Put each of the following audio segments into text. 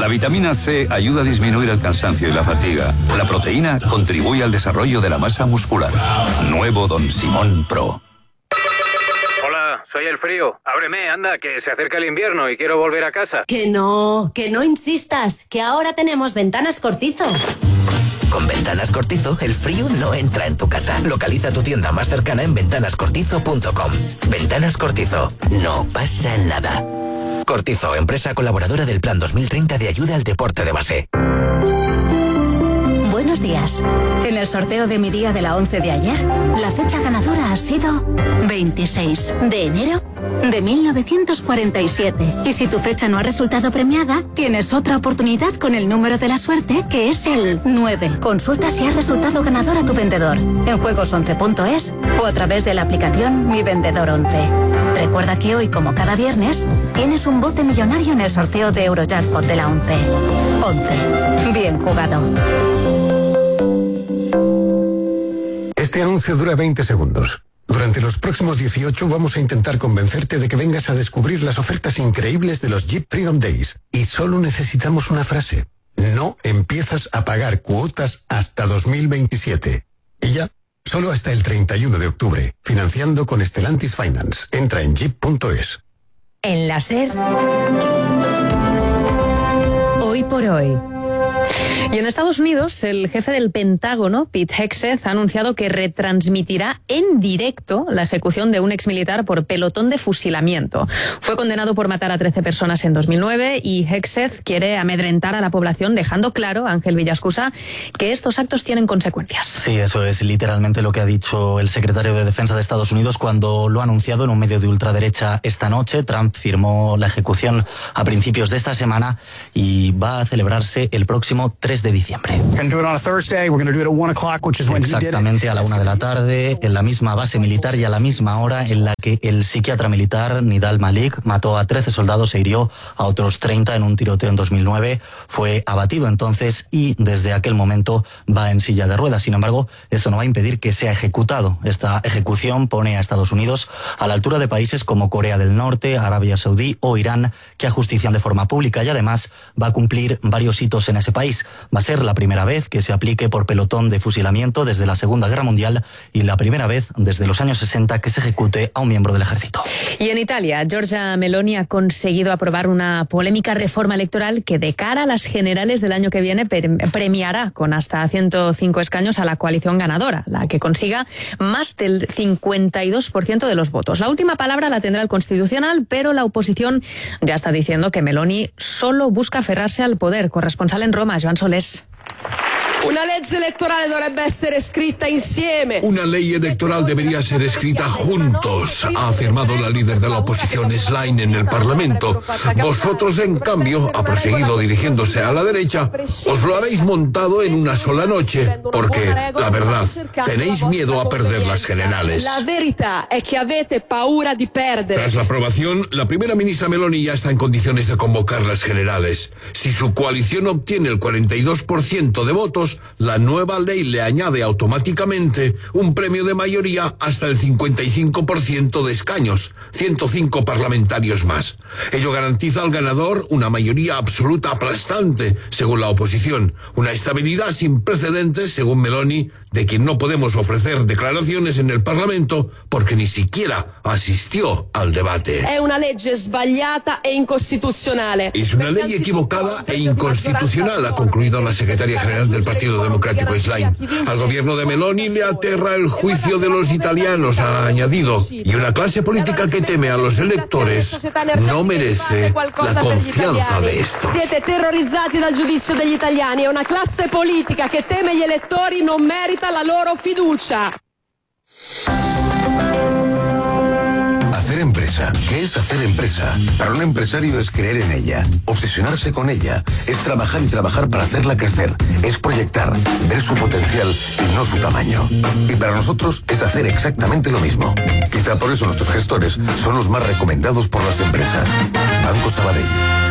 vitamina C ayuda a disminuir el cansancio y la fatiga. La proteína contribuye al desarrollo de la masa muscular. Nuevo Don Simón Pro. Hola, soy el frío. Ábreme, anda, que se acerca el invierno y quiero volver a casa. Que no insistas, que ahora tenemos Ventanas Cortizo. Con Ventanas Cortizo, el frío no entra en tu casa. Localiza tu tienda más cercana en ventanascortizo.com. Ventanas Cortizo, no pasa nada. Cortizo, empresa colaboradora del Plan 2030 de ayuda al deporte de base. Buenos días. En el sorteo de mi día de la 11 de ayer, la fecha ganadora ha sido 26 de enero de 1947. Y si tu fecha no ha resultado premiada, tienes otra oportunidad con el número de la suerte, que es el 9. Consulta si has resultado ganador a tu vendedor en juegos11.es o a través de la aplicación Mi Vendedor 11. Recuerda que hoy, como cada viernes, tienes un bote millonario en el sorteo de Eurojackpot de la 11. 11. Bien jugado. Este anuncio dura 20 segundos. Durante los próximos 18 vamos a intentar convencerte de que vengas a descubrir las ofertas increíbles de los Jeep Freedom Days. Y solo necesitamos una frase. No empiezas a pagar cuotas hasta 2027. Y ya, solo hasta el 31 de octubre. Financiando con Stellantis Finance. Entra en jeep.es. En la SER, hoy por hoy. Y en Estados Unidos, el jefe del Pentágono, Pete Hegseth, ha anunciado que retransmitirá en directo la ejecución de un exmilitar por pelotón de fusilamiento. Fue condenado por matar a 13 personas en 2009 y Hegseth quiere amedrentar a la población, dejando claro, Ángel Villascusa, que estos actos tienen consecuencias. Sí, eso es literalmente lo que ha dicho el secretario de Defensa de Estados Unidos cuando lo ha anunciado en un medio de ultraderecha esta noche. Trump firmó la ejecución a principios de esta semana y va a celebrarse el próximo 3 de diciembre. Exactamente a la 1 de la tarde, en la misma base militar y a la misma hora en la que el psiquiatra militar Nidal Malik mató a 13 soldados e hirió a otros 30 en un tiroteo en 2009. Fue abatido entonces y desde aquel momento va en silla de ruedas. Sin embargo, eso no va a impedir que sea ejecutado. Esta ejecución pone a Estados Unidos a la altura de países como Corea del Norte, Arabia Saudí o Irán, que ajustician de forma pública y además va a cumplir varios hitos en ese país. Va a ser la primera vez que se aplique por pelotón de fusilamiento desde la Segunda Guerra Mundial y la primera vez desde los años 60 que se ejecute a un miembro del ejército. Y en Italia, Giorgia Meloni ha conseguido aprobar una polémica reforma electoral que de cara a las generales del año que viene premiará con hasta 105 escaños a la coalición ganadora, la que consiga más del 52% de los votos. La última palabra la tendrá el Constitucional, pero la oposición ya está diciendo que Meloni solo busca aferrarse al poder. Corresponsal en Roma, Joan Solés. Una legge elettorale dovrebbe essere scritta insieme. Una ley electoral debería ser escrita juntos, ha afirmado la líder de la oposición Schlein en el Parlamento. Vosotros, en cambio, ha proseguido dirigiéndose a la derecha, os lo habéis montado en una sola noche, porque, la verdad, tenéis miedo a perder las generales. La verità è che avete paura di perdere. Tras la aprobación, la primera ministra Meloni ya está en condiciones de convocar las generales. Si su coalición obtiene el 42% de votos, la nueva ley le añade automáticamente un premio de mayoría hasta el 55% de escaños, 105 parlamentarios más. Ello garantiza al ganador una mayoría absoluta aplastante, según la oposición, una estabilidad sin precedentes, según Meloni, de quien no podemos ofrecer declaraciones en el Parlamento porque ni siquiera asistió al debate. È una legge sbagliata e incostituzionale. Es una ley equivocada e inconstitucional, ha concluido la secretaria general del Partido Democrático Schlein. Al gobierno de Meloni le aterra el juicio de los italianos, ha añadido, y una clase política que teme a los electores no merece la confianza de estos. Siete terrorizzati dal giudizio degli italiani, è una classe politica che teme gli elettori, non merita la loro fiducia. Hacer empresa. ¿Qué es hacer empresa? Para un empresario es creer en ella, obsesionarse con ella, es trabajar y trabajar para hacerla crecer, es proyectar, ver su potencial y no su tamaño. Y para nosotros es hacer exactamente lo mismo. Quizá por eso nuestros gestores son los más recomendados por las empresas. Banco Sabadell.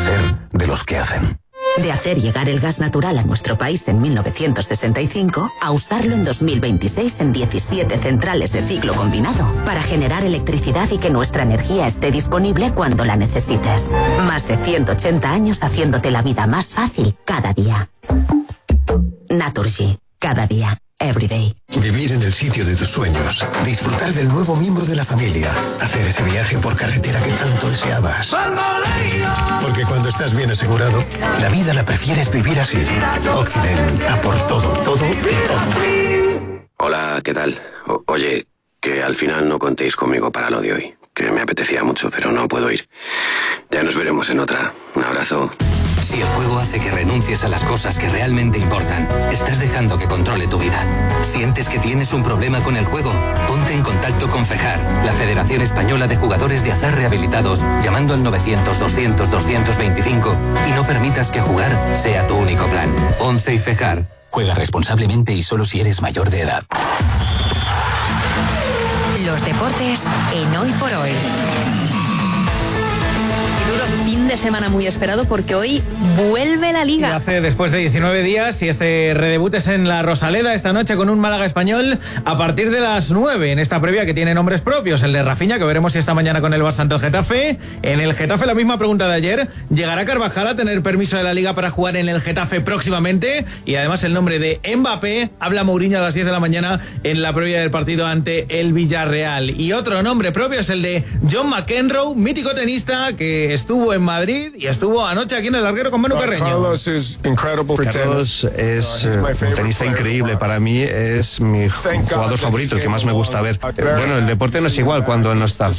Ser de los que hacen. De hacer llegar el gas natural a nuestro país en 1965 a usarlo en 2026 en 17 centrales de ciclo combinado para generar electricidad y que nuestra energía esté disponible cuando la necesites. Más de 180 años haciéndote la vida más fácil cada día. Naturgy. Cada día. Everyday. Vivir en el sitio de tus sueños, disfrutar del nuevo miembro de la familia, hacer ese viaje por carretera que tanto deseabas. Porque cuando estás bien asegurado, la vida la prefieres vivir así. Occident, a por todo, todo y todo. Hola, ¿qué tal? Oye, que al final no contéis conmigo para lo de hoy, que me apetecía mucho, pero no puedo ir. Ya nos veremos en otra. Un abrazo. Si el juego hace que renuncies a las cosas que realmente importan, estás dejando que controle tu vida. ¿Sientes que tienes un problema con el juego? Ponte en contacto con FEJAR, la Federación Española de Jugadores de Azar Rehabilitados, llamando al 900-200-225 y no permitas que jugar sea tu único plan. 11 y FEJAR. Juega responsablemente y solo si eres mayor de edad. Los deportes en Hoy por Hoy. Fin de semana muy esperado porque hoy vuelve la Liga. Lo hace después de 19 días y este redebut es en la Rosaleda esta noche con un Málaga Español a partir de las 9 en esta previa que tiene nombres propios, el de Rafinha, que veremos si esta mañana con el Barça ante el Getafe. En el Getafe la misma pregunta de ayer, ¿llegará Carvajal a tener permiso de la Liga para jugar en el Getafe próximamente? Y además el nombre de Mbappé, habla Mourinho a las 10 de la mañana en la previa del partido ante el Villarreal. Y otro nombre propio es el de John McEnroe, mítico tenista que estuvo en Madrid y estuvo anoche aquí en el Larguero con Manu Carreño. Carlos es un tenista increíble. Para mí es mi jugador favorito, el que más me gusta ver. Bueno, el deporte no es igual cuando él no está.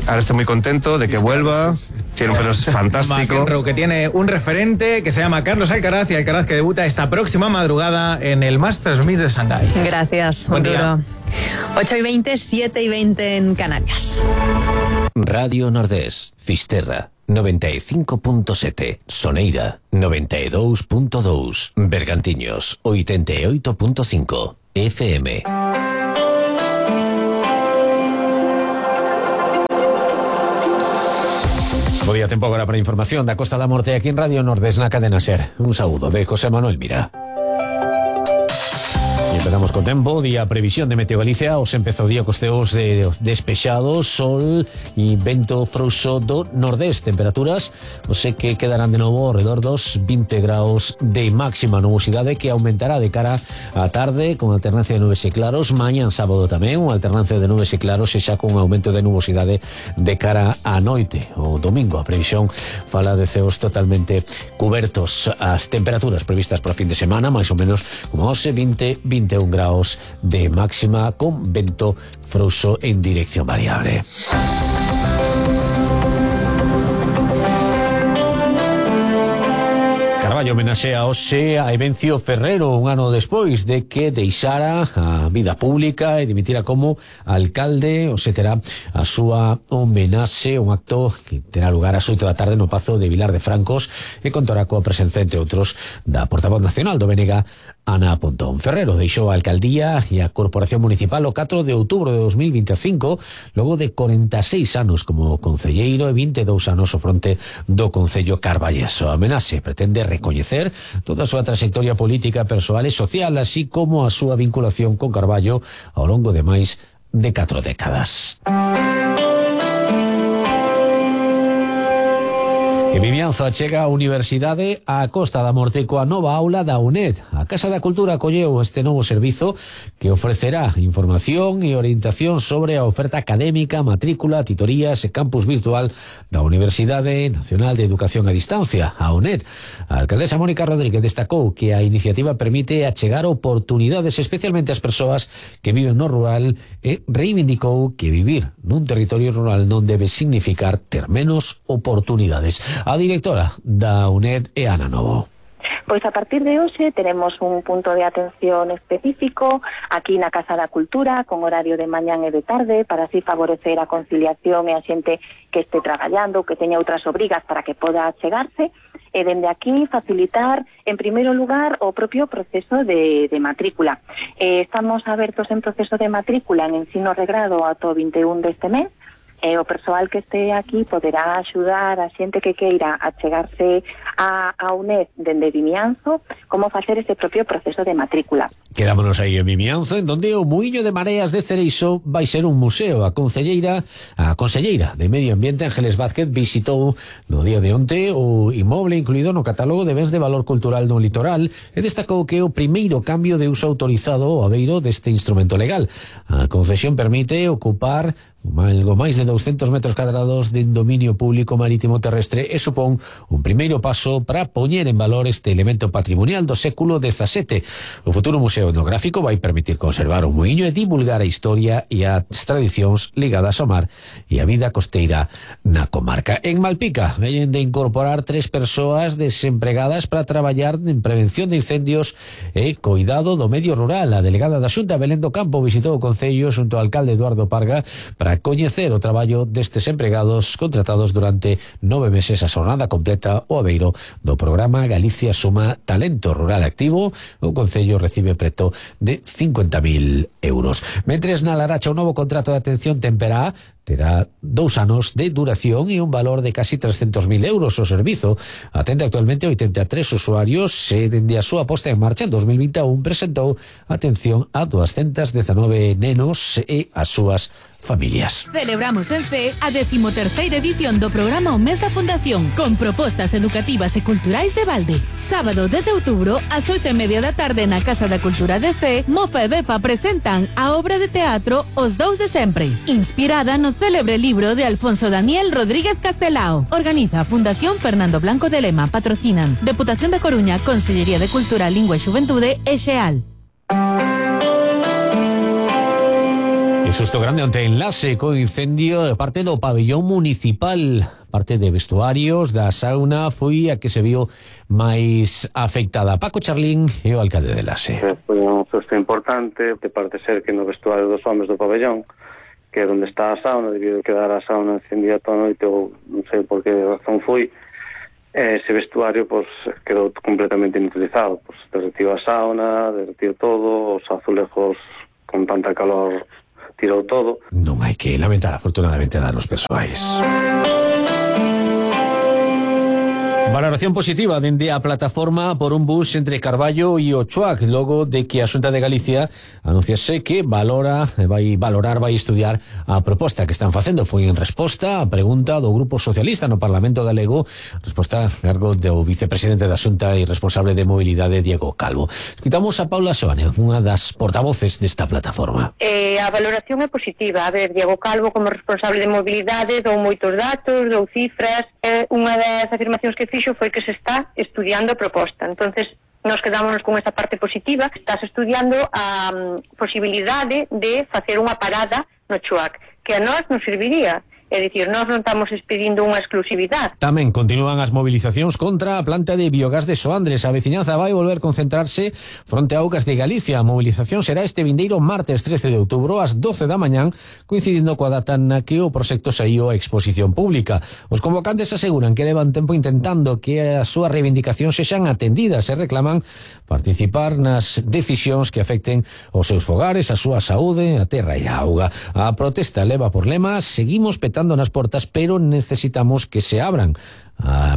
Ahora estoy muy contento de que vuelva. Tiene un pelo fantástico. McEnroe, que tiene un referente que se llama Carlos Alcaraz, y Alcaraz que debuta esta próxima madrugada en el Masters 1000 de Shanghái. Gracias, Arturo. 8:20, 7:20 en Canarias. Radio Nordés, Fisterra 95.7, Soneira 92.2, Bergantiños 88.5, FM. Bo día, tempo agora para a información da Costa da Morte aquí en Radio Nordés na cadena SER. Un saúdo de José Manuel Mira. Empezamos con tempo, día previsión de Meteo Galicia. Os empezou o día cos ceos despexados, sol e vento frouxo do nordés. Temperaturas, sei que quedarán de novo ao redor dos 20 graus de máxima. Nubosidade que aumentará de cara á tarde con alternancia de nubes e claros. Mañán sábado tamén, unha alternancia de nubes e claros e xa con un aumento de nubosidade de cara á noite. O domingo a previsión fala de ceos totalmente cubertos. As temperaturas previstas para o fin de semana, máis ou menos como 21 graus de máxima con vento frouxo en dirección variable. Carballo homenaxea hoxe a Evencio Ferrero un ano despois de que deixara a vida pública e dimitira como alcalde. Hoxe terá a súa homenaxe, un acto que terá lugar ás 8 da tarde no Pazo de Vilar de Francos e contará coa presenza, entre outros, da portavoz nacional do BNG, Ana Pontón. Ferrero deixou a alcaldía e a corporación municipal o 4 de outubro de 2025 logo de 46 anos como concelleiro e 22 anos ao fronte do Concello Carballeso. A homenaxe pretende recoñecer toda a súa trayectoria política, persoal e social, así como a súa vinculación con Carballo ao longo de máis de 4 décadas. E Vimianzo achega a Universidade á Costa da Morte coa nova aula da UNED. A Casa da Cultura acolleu este novo servizo que ofrecerá información e orientación sobre a oferta académica, matrícula, titorías e campus virtual da Universidade Nacional de Educación a Distancia, a UNED. A alcaldesa Mónica Rodríguez destacou que a iniciativa permite achegar oportunidades especialmente ás persoas que viven no rural e reivindicou que vivir nun territorio rural non debe significar ter menos oportunidades. A directora da UNED é Ana Novo. Pois a partir de hoxe teremos un punto de atención específico aquí na Casa da Cultura con horario de mañán e de tarde para así favorecer a conciliación e a xente que este traballando, que teña outras obrigas para que poda chegarse e dende aquí facilitar en primeiro lugar o propio proceso de matrícula. Estamos abertos en proceso de matrícula en ensino regrado ata o 21 deste mes E o persoal que este aquí poderá axudar a xente que queira a chegarse a UNED dende Vimianzo como facer ese propio proceso de matrícula. Quedámonos aí en Vimianzo, en donde o Muiño de Mareas de Cereixo vai ser un museo. A conselleira de Medio Ambiente, Ángeles Vázquez, visitou no día de onte o inmoble incluído no catálogo de bens de valor cultural no litoral e destacou que é o primeiro cambio de uso autorizado ao abeiro deste instrumento legal. A concesión permite ocupar algo máis de 200 metros cuadrados de dominio público marítimo terrestre e supón un primeiro paso para poñer en valor este elemento patrimonial do século XVII. O futuro museo etnográfico vai permitir conservar o muiño e divulgar a historia e as tradicións ligadas ao mar e a vida costeira na comarca. En Malpica veñen de incorporar 3 persoas desempregadas para traballar en prevención de incendios e cuidado do medio rural. A delegada da Xunta, Belén do Campo, visitou o concello xunto ao alcalde Eduardo Parga para coñecer o traballo destes empregados contratados durante 9 meses a xornada completa o abeiro do programa Galicia Suma Talento Rural Activo. O concello recibe preto de 50.000 euros. Mentres na Laracha o novo contrato de atención temperá terá 2 anos de duración e un valor de casi 300.000 euros. O servizo atende actualmente 83 usuarios e dende a súa posta en marcha en 2021 presentou atención a 219 nenos e as súas familias. Celebramos en CEE a 13ª edición do programa O Mes da Fundación con propostas educativas e culturais de balde. Sábado 10 de outubro ás 8:30 da tarde na Casa da Cultura de CEE, Mofa e Befa presentan a obra de teatro Os Dous de Sempre, inspirada no célebre libro de Alfonso Daniel Rodríguez Castelao. Organiza a Fundación Fernando Blanco de Lema. Patrocinan Deputación da Coruña, Consellería de Cultura, Lingua e Xuventude e Xeal. Un susto grande onte enlace co incendio de parte do pabellón municipal. Parte de vestuarios da sauna foi a que se viu máis afectada. Paco Charlín é o alcalde de Enlace. Foi un susto importante, que parece ser que no vestuario dos homes do pabellón, que é onde está a sauna, debido a quedar a sauna encendida toda a noite, ou non sei por que razón foi, ese vestuario pues, quedou completamente inutilizado. Pues, derretiu a sauna, derretiu todo, os azulejos con tanta calor tirou todo. Non hai que lamentar, afortunadamente, danos persoais. Valoración positiva dende a plataforma por un bus entre Carballo e Ochoac, logo de que a Xunta de Galicia anunciase que vai estudiar a proposta que están facendo. Foi en resposta á pregunta do Grupo Socialista no Parlamento Galego, resposta a cargo do vicepresidente da Xunta e responsable de mobilidade, Diego Calvo. Escutamos a Paula Soane, unha das portavoces desta plataforma. A valoración é positiva. A ver, Diego Calvo como responsable de mobilidade dou moitos datos, dou cifras. Unha das afirmacións que fixo foi que se está estudiando a proposta. Entonces, nos quedámonos con esta parte positiva. Estás estudiando a posibilidade de facer unha parada no Choac, que a nós nos serviría. É dicir, nós non estamos pedindo unha exclusividade. Tamén continúan as movilizacións contra a planta de biogás de Soandres. A veciñanza vai volver concentrarse fronte a Augas de Galicia. A movilización será este vindeiro martes 13 de outubro ás 12 da mañán, coincidindo coa data na que o proxecto saíu a exposición pública. Os convocantes aseguran que levan tempo intentando que as súas reivindicacións sexan atendidas e reclaman participar nas decisións que afecten os seus fogares, a súa saúde, a terra e a auga. A protesta leva por lema: seguimos petando nas portas, pero necesitamos que se abran.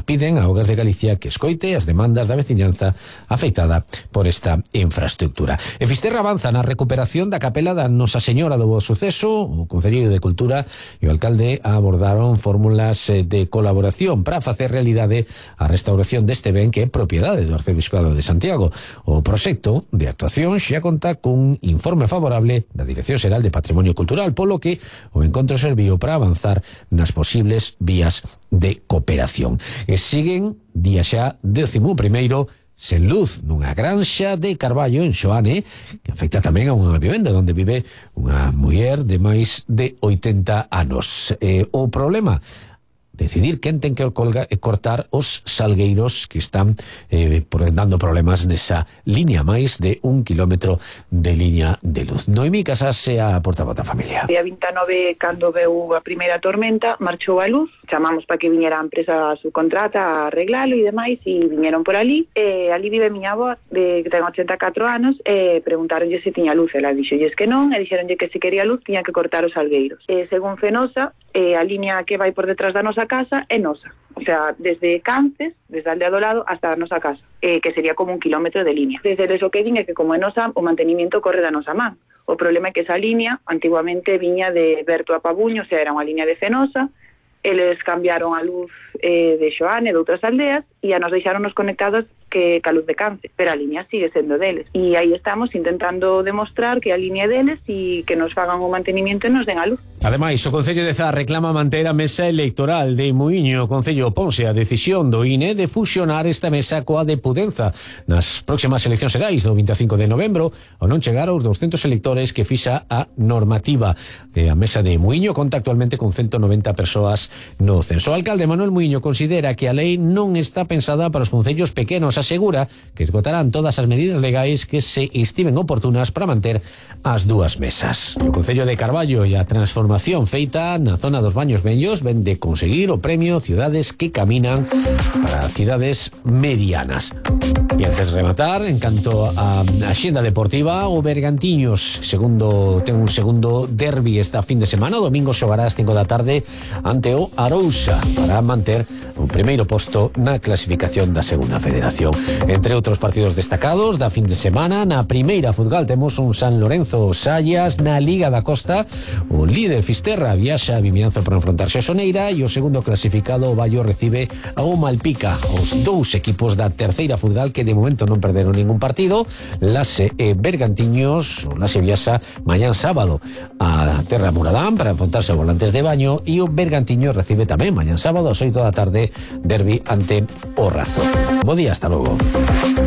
Piden a Augas de Galicia que escoite as demandas da veciñanza afectada por esta infraestructura. E Fisterra avanza na recuperación da capela da Nosa Señora do Bo Suceso. O Concelleiro de Cultura e o alcalde abordaron fórmulas de colaboración para facer realidade a restauración deste ben que é propiedade do Arcebispado de Santiago. O proxecto de actuación xa conta cun informe favorable da Dirección Xeral de Patrimonio Cultural, polo que o encontro serviu para avanzar nas posibles vías de cooperación. E siguen día xa 11º sen luz nunha granxa de Carballo en Xoane, que afecta tamén a unha vivenda onde vive unha muller de máis de 80 anos. O problema: decidir quen ten que cortar os salgueiros que están dando problemas nesa línea, máis de 1 kilómetro de liña de luz. Noemí Casase, a portavoz da familia. Día 29, cando veu a primeira tormenta, marchou a luz chamamos para que viñera a empresa subcontrata a arreglalo e demais, e viñeron por ali. Ali vive miña avó, que ten 84 anos, preguntaronlle se tiña luz, ela dixolles que non, e dixeronlle que se quería luz tiña que cortar os salgueiros. Según Fenosa, a línea que vai por detrás da nosa casa é nosa, o sea, desde Cances, desde a aldea do lado hasta a nosa casa, que sería como 1 kilómetro de línea. Desde eso que din é que como é nosa, o mantenimiento corre da nosa man. O problema é que esa línea antiguamente viña de Berto a Pabuño, o sea, era unha línea de Fenosa. Eles cambiaron a luz de Xoane, de outras aldeas, e a nos deixaron conectados ca luz de Cance, pero a línea sigue sendo deles. E aí estamos intentando demostrar que a línea é deles e que nos fagan o mantenimiento e nos den a luz. Ademais, o Concello de Zas reclama manter a mesa electoral de Muíño. O Concello oponse a decisión do INE de fusionar esta mesa coa de Pudenza nas próximas eleccións xerais do 25 de novembro, ao non chegar aos 200 electores que fixa a normativa. A mesa de Muíño conta actualmente con 190 persoas no censo. O alcalde Manuel Muíño considera que a lei non está pensada para os concellos pequenos. Asegura que esgotarán todas as medidas legais que se estiven oportunas para manter as dúas mesas. O Concello de Carballo e a transformación feita na zona dos Baños Vellos ven de conseguir o premio Ciudades que Caminan para cidades medianas. E antes de rematar, en canto a axenda deportiva, o Bergantiños ten un segundo derbi esta fin de semana. O domingo xogará ás 5 da tarde ante o Arousa para manter o primeiro posto na clasificación da segunda federación. Entre outros partidos destacados da fin de semana, na primeira futgal temos un San Lorenzo Sallas. Na Liga da Costa, o líder Fisterra viaxa a Vimianzo para enfrontarse a Soneira, e o segundo clasificado, o Baio, recibe a o Malpica. Os dous equipos da terceira futgal que de momento non perderon ningún partido. Lase e Bergantiños, o Lase viaxa mañán sábado a Terra Muradán para enfrontarse a Volantes de Baño, e o Bergantiños recibe tamén mañán sábado ás 8 da tarde derbi ante o Razo. Bo día, hasta logo.